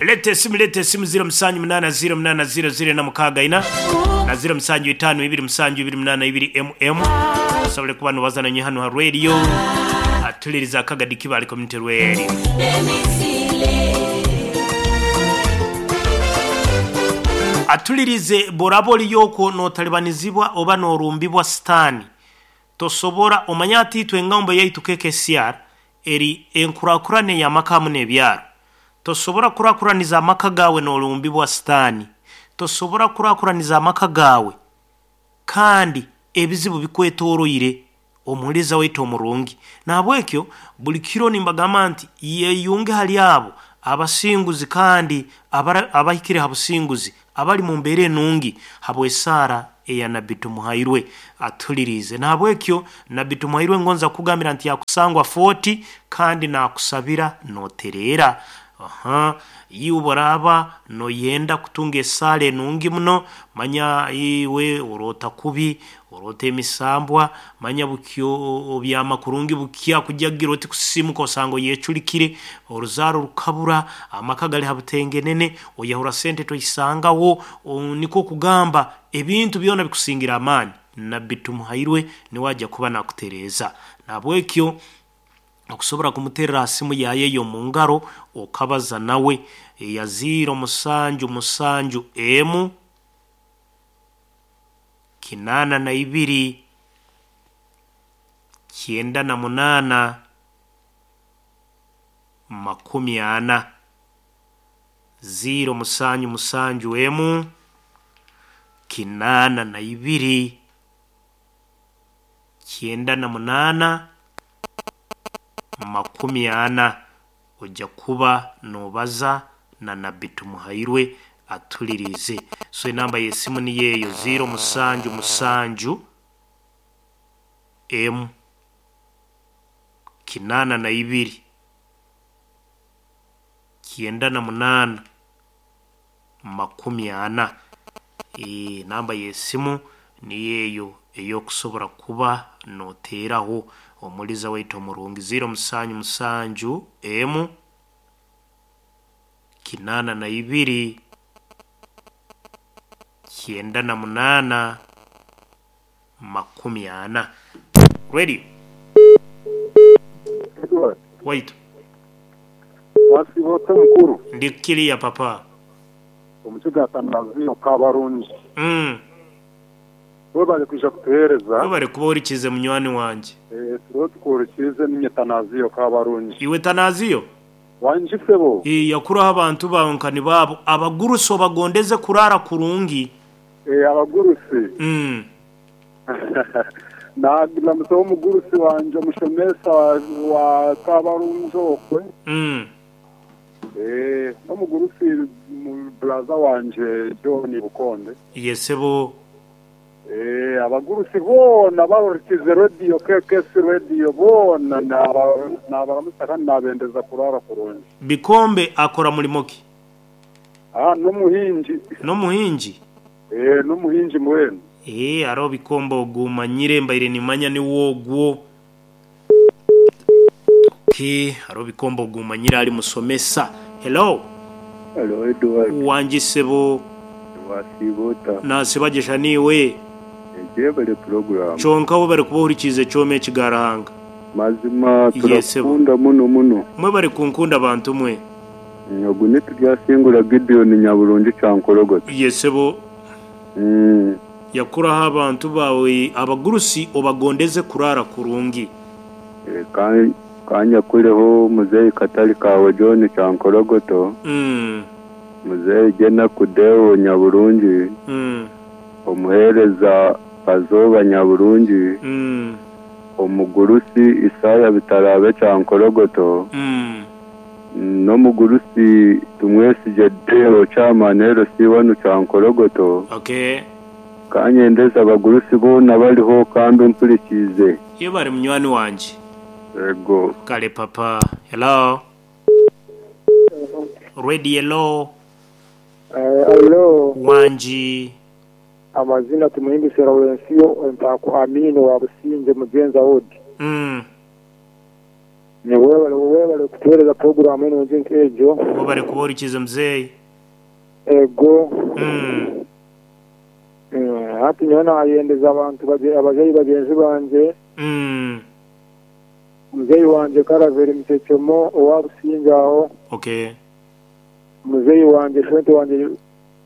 Leeta esimu leeta esimu 0780 08 00 464 na 0752 728 mm osobole kuba nobaza nanye hanu ha radio atuliriza akagadi Kibale Community Radio. Atulirize bworaba oriyo okwo notalibanizibwa oba norumbibwa sitaani tosobora omanye hati itwe engambo yaitu KKCR eri enkurakurana ey'amaka hamu n'ebyaro. Tosobora kurakuraniza amaka gaawe n'orumbibwa Sitaani. Tosobora kurakuraniza amaka gaawe kandi ebizibu bikwetoroire. Omuhuliriza waitu omurungi. Nahabwekyo, buli kiro nimbagamba nti, Yeyunge hali abo abasinguzi kandi abahikire ha businguzi abali mu mbeera enungi habw'esaara eya Nabbi Tumuhairwe atuhuliriize. Nahabwekyo Nabbi Tumuhairwe ngonza kukugambira nti yakusangwa Fort kandi nakusabira notereera. Aha, iwe obu oraaba noyenda kutunga esaara enungi muno, manya iwe oroota kubi, Oroota emisambwa, manya bukya obyama kurungi bukya kujagira oti kusisiimuka osanga oyeculikire, oruzaaro rukabura, amaka gali ha butengenene, oyahura sente toisangaho, nikwo kugamba ebintu byona bikusingira amaani. Nabbi Tumuhairwe niwe aja kuba nakutereeza. Nahabwekyo Okusobora kumuterera ha simu yaaye ey'omu ngaro okabaza nawe eya ziiro musanju musanju emu, kinaana na ibiri, kyenda na munaana, makumi ana. Ziiro musanju musanju emu, kinaana na ibiri, kyenda na munaana, makumi ana. Oja kuba nobaza na Nabbi Tumuhairwe atuhuliriize. So enamba y'esimu niyo eyo, ziiro musanju musanju emu, kinaana na ibiri, kyenda na munaana, makumi ana. Enamba y'esimu niyo eyo ey'okusobora kuba noteeraho omuliza waitu omurungi, ziiro musanju musanju emu, kinaana na ibiri, kyenda na munaana, makumi ana. Radio. Edward. Waitu. Wasiiba ota mukuru? Ndi kiriya papa. Omukiga Atanaziyo Kabarungi. Webale kwija kutuheereza. Webale kuba ohurikiize munywani wangye. Turiho tukuhurikiize niinye Tanaziyo Kabarungi. Iwe Tanaziyo? Wangi sebo. Yakuraho abantu baawe nka nibo abo abagurusi obagondeze kuraara kurungi. Abagurusi? Naagiramusaho omugurusi wangye omushomesa wa Kabarungi okwe. N'omugurusi buraza wangye John Bukonde. Ye sebo. Abagurusi boona abahurikiize rediyo KKC Radio boona naabaramutsya kandi naabendeza kuraara kurungi. Bikombe akora murimo ki? N'omuhingi. N'omuhingi? Eeh n'omuhingi mbwenu. Eeh hariho Bikombe ogu manyire mbaire nimanya niwe ogwo. Okay hariho Bikombe ogu manyire ari musomesa. Hello. Hello Edward. Wangi ssebo. Wasiiba ota? Nasiiba gye sha niiwe? Gyebare puroguramu. Kyonka webare kuba ohurikiize ekyoma eki Garuhanga. Mazima Ye ssebo. turakukunda muno muno. Mwebare kunkunda bantu mwe. Ogu ni Turyasingura Gideon Nyaburungi Kyankorogoto. Ye ssebo. Yakuraho abantu baawe abagurusi obagondeze kuraara kurungi. Ka nyakureho muzeeyi Katari kaawe John Kyankorogoto, muzeeyi Jenaku Deo Nyaburungi, omuheereza Kazooba Nyaburungi, omugurusi Isaya Bitaraabe Kyankorogoto, N'omugurusi Tumwesigye Deo Chairman LC wanu Kyankorogoto. Okay. Ka nyendeze abagurusi boona abariho kandi ompurikiize. Yebare munywani wangye. Yego. Kale papa. Hello. Radio hello. Hello. Wangi. Amazina Tumuhimbise Lawrensio Entaako Amin owa Busingye Mugyenza Ward. Webale webale kutuhereza puroguramu enungi nk'egyo. Webale kuba orikize muzeeyi. Ego. Hati nyowe nayendeza abantu abazeeyi bagyenzi bangye. Muzeeyi wangye Karaveri Mukyekyomo owa Busingye aho. Okay. Muzeeyi wangye shwente wangye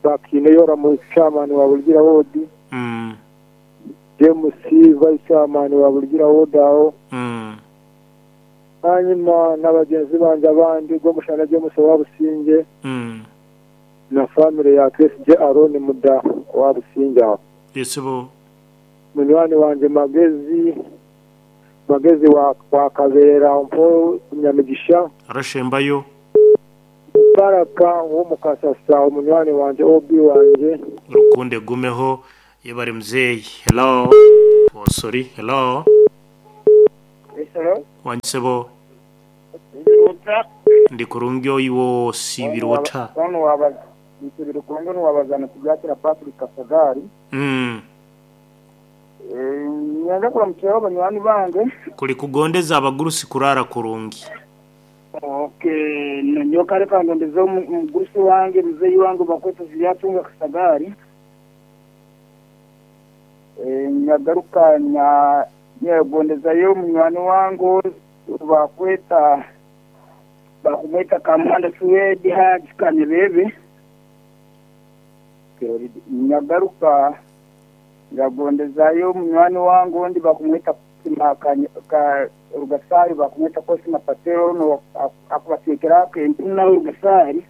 Bakiine Yoramu chairman wa Buligira ward. James vice chairman wa Buligira ward aho. Hanyima na bagyenzi bangye abandi Rwomushana James owa Busingye na famire ya Twesigye Aron Muda owa Busingye aho. Yesibo. Munywani wangye Magezi Magezi wa Kabeera mpo Nyamigisha. Arashembayo. Baraka ow'omu Kasasa omunywani wangye OB wangye. Rukundo egumeho yebare muzeeyi. Hello oh sorry hello. Hello. Wangi sebo. Nsiibire ota? Ndi kurungi oiwe osiibire ota? Onu wabaza nsiibire kurungi onu wabaza Nitugyakira Patrick Kasagaari. Niinyenda kuramukyeho banywani bange. Kuri kugondeza abagurusi kuraara kurungi. Okay, nyowe kare kangondeze omugurusi wange muzeeyi wange bakweta Ziryatunga Kasagaari. Nyagaruka nyegondezayo munywani wange bakweta bakumweta Kamuhanda Suwedi Haji Kanyebebe. Nyagaruka nyagondezayo munywani wange ondi bakumweta Rugasari bakumweta Cosima Patero onu akubateekera akempunu nawe Rugasari.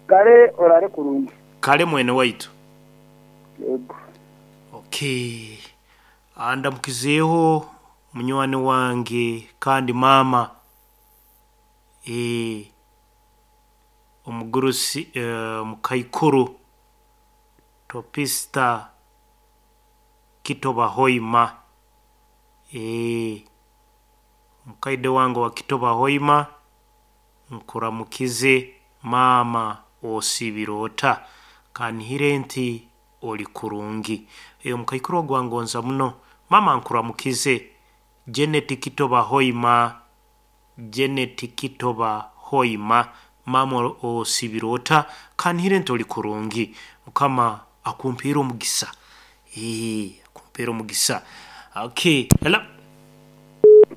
Kare orare kurungi. Kare mwene waitu. Yego. Okay. Andamukizeeho munywani wange kandi maama eh, omugurusi eh, omukaikuru Topista Kitoba Hoima eh, omukaide wange owa Kitoba Hoima nkuramukize maama osiibire ota? Kanihire nti ori kurungi. Eh, omukaikuru ogu angonza muno. Maama nkuramukize. Janet Kitoba Hoima, Janet Kitoba Hoima, maama osiibire ota? Kanihire nti ori kurungi. Mukama akumpeere omugisa. Eeh, akumpeere omugisa. Okay, hello.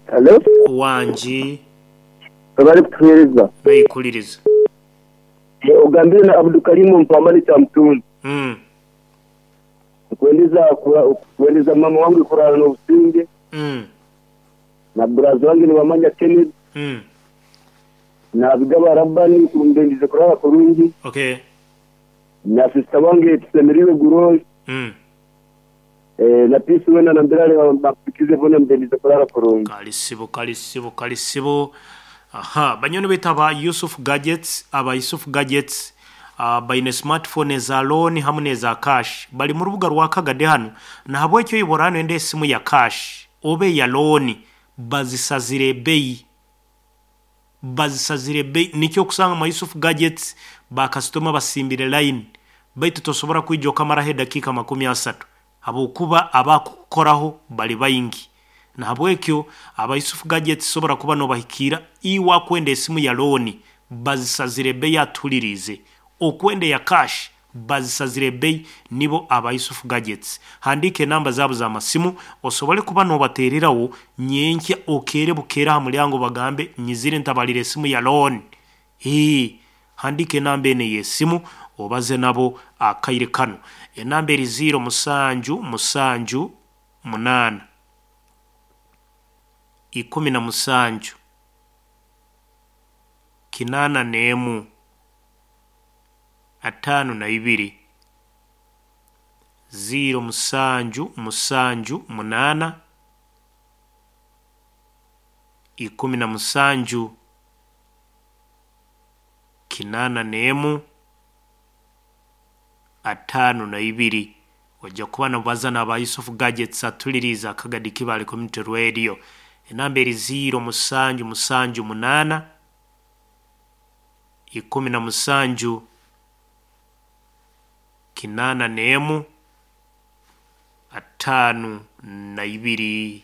Hello. Wangi. Webale kutuhereza. Naikuliriza. Ogambire na Abdukarimu Mpamani Kyamutunzi. Nkwendeza kwendeza mama wange kurara n'obusinge. Na buraza wange nibamanya Kennedy. Na Bigaba Rabani kumbendize kurara kurungi. Okay. Na sister wange Tusemereirwe Gurori. Na Peace wena na Mbirale bakupikize bona mbendize kurara kurungi. Kale ssebo, kale ssebo, kale ssebo. Aha, banywani baitu aba Yusuf Gadgets, aba Yusuf Gadgets ah, baine smartphone eza loan hamu n'eza cash. Bari mu rubuga rwa Kagadi hanu, nahabwekyo iwe oraba noyenda esimu ya cash oba eya loan bazisazire ebeeyi. Bazisazire ebeeyi. Nikyo okusanga mwa Yusuf Gadgets ba kasitoma basimbire line baitu tosobora kwija okamaraho edakiika 30 habwokuba abakukukoraho bari baingi. Nahabwekyo aba Yusuf Gadgets sobora kuba nobahikiira iwe akwenda esimu ya looni bazisazire ebeeyi atuhuririize, okwenda eya cash bazisazire ebeeyi nibo aba Yusuf Gadgets. Handiika enamba zaabo z'amasimu osobole kuba nobateereraho nyenkya okeere bukeere aha muryango obagambe nyizire ntabarire esimu ya looni. Hii, handiika enamba enu ey'esimu obaze nabo akaire kanu. Enamba eri ziiro musanju musanju munaana 17 81 52 ziiro musanju musanju munaana 17 81 52. Oija kuba nobaza n'aba Yusuf Gadgets atuliriize Akagadi Kibale Community Radio. Enamba eri ziiro musanju musanju munaana 17 81 52.